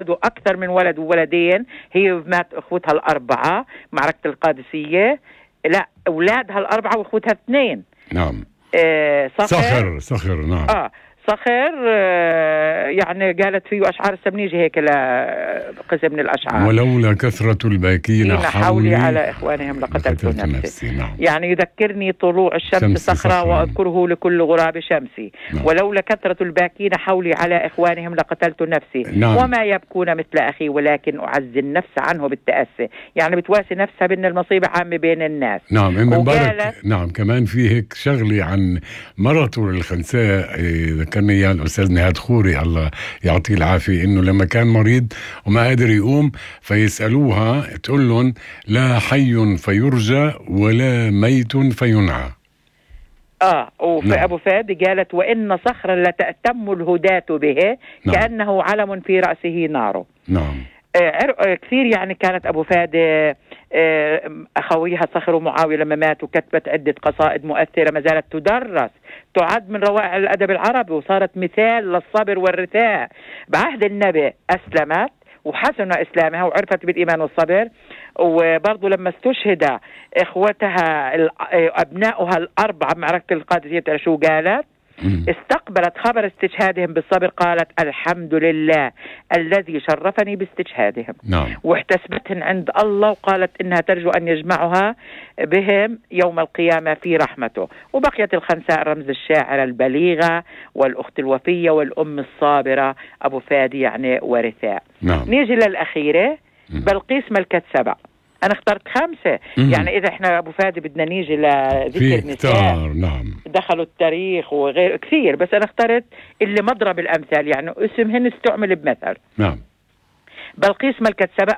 أكثر من ولد وولدين، هي مات أخوتها الأربعة معركة القادسية. لا، أولادها الأربعة وأخوتها 2. نعم. صخر نعم. صخر يعني قالت فيه أشعار السبنيجي هيك لقسم من الأشعار: ولولا كثرة الباكين حولي على إخوانهم لقتلت نفسي. نعم. يعني يذكرني طلوع الشمس صخرة وأذكره لكل غراب شمسي. نعم. ولولا كثرة الباكين حولي على إخوانهم لقتلت نفسي. نعم. وما يبكون مثل أخي ولكن أعزي النفس عنه بالتأسي. يعني بتواسي نفسها بأن المصيبة عامة بين الناس. نعم. مبارك. نعم. كمان في هيك شغلي عن مرته الخنساء ذكرني إياه الأستاذ نهاد خوري الله يعطيه العافية، إنه لما كان مريض وما قادر يقوم فيسألوها تقول لهم: لا حي فيرجى ولا ميت فينعى. وفي نعم. أبو فادي قالت: وإن صخرا لتأتم الهداة به. نعم. كأنه علم في رأسه نار. نعم. كثير يعني كانت أبو فادي أخويها صخر ومعاوية لما ماتوا كتبت عدة قصائد مؤثرة ما زالت تدرس، تعد من روائع الأدب العربي، وصارت مثال للصبر والرثاء. بعهد النبي أسلمت وحسن إسلامها وعرفت بالإيمان والصبر. وبرضو لما استشهد إخوتها أبنائها الأربعة بمعركة القادسية شو قالت؟ استقبلت خبر استشهادهم بالصبر، قالت: الحمد لله الذي شرفني باستشهادهم. نعم. واحتسبتهن عند الله، وقالت إنها ترجو أن يجمعها بهم يوم القيامة في رحمته. وبقيت الخنساء رمز الشاعرة البليغة والأخت الوفية والأم الصابرة أبو فادي يعني ورثاء. نعم. نيجي للأخيرة بلقيس ملكة سبع. أنا اخترت 5. يعني إذا إحنا أبو فادي بدنا نيجي لذكر نساء نعم دخلوا التاريخ وغير كثير، بس أنا اخترت اللي مضرب الأمثال، يعني اسمهن استعمل بمثل. نعم. بلقيس ملكة سبأ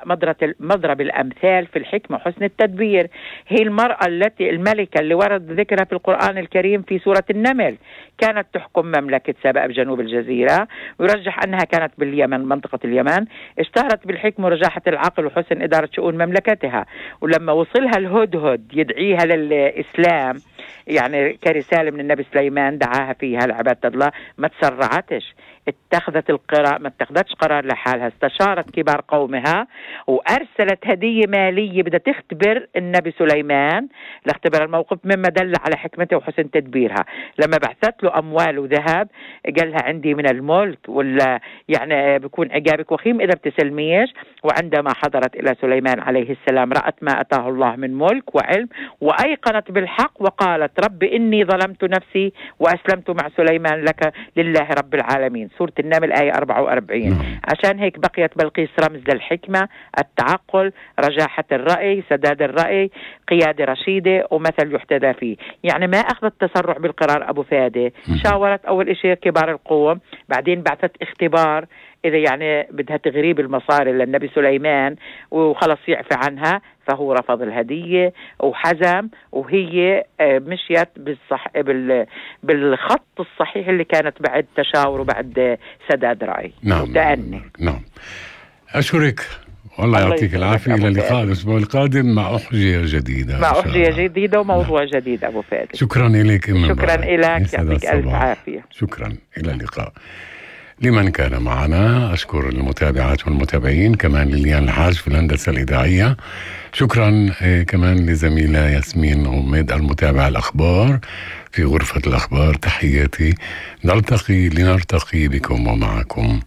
مضرب الأمثال في الحكمة وحسن التدبير. هي المرأة الملكة اللي ورد ذكرها في القرآن الكريم في سورة النمل. كانت تحكم مملكة سبأ بجنوب الجزيرة، ويرجح أنها كانت باليمن منطقة اليمن. اشتهرت بالحكمة ورجاحة العقل وحسن إدارة شؤون مملكتها. ولما وصلها الهدهد يدعيها للإسلام يعني كرسالة من النبي سليمان دعاها فيها لعبادة الله، ما تسرعتش، اتخذت القرار، ما اتخذتش قرار لحالها، استشارت كبار قومها وأرسلت هدية مالية بدها تختبر النبي سليمان لاختبار الموقف، مما دل على حكمته وحسن تدبيرها. لما بعثت له أموال وذهب قال لها: عندي من الملك ولا يعني بيكون عقابك وخيم إذا بتسلميش. وعندما حضرت إلى سليمان عليه السلام رأت ما أتاه الله من ملك وعلم، وأيقنت بالحق وقالت: رب إني ظلمت نفسي وأسلمت مع سليمان لك لله رب العالمين. سورة النمل آية 44. عشان هيك بقيت بلقيس رمز للحكمة، التعقل، رجاحة الرأي، سداد الرأي، قيادة رشيدة ومثل يحتذى فيه. يعني ما أخذت تسرع بالقرار أبو فادي، شاورت أول إشي كبار القوم، بعدين بعثت اختبار إذا يعني بدها تغريب المصاري للنبي سليمان وخلص يعفى عنها، فهو رفض الهدية وحزم، وهي مشيت بالخط الصحيح اللي كانت بعد تشاور وبعد سداد رأي. نعم. وتأني. نعم. أشكرك والله يعطيك العافية. إلى اللقاء الأسبوع القادم مع أحجية جديدة. مع أحجية جديدة وموضوع جديد أبو فادي. شكرا إليك. شكرا إليك، يعطيك ألف عافية. شكرا. إلى اللقاء. لمن كان معنا أشكر المتابعات والمتابعين، كمان لليان الحاج في الهندسة الإذاعية. شكرا كمان لزميلة ياسمين غميد المتابعة الأخبار في غرفة الأخبار. تحياتي، نرتقي بكم ومعكم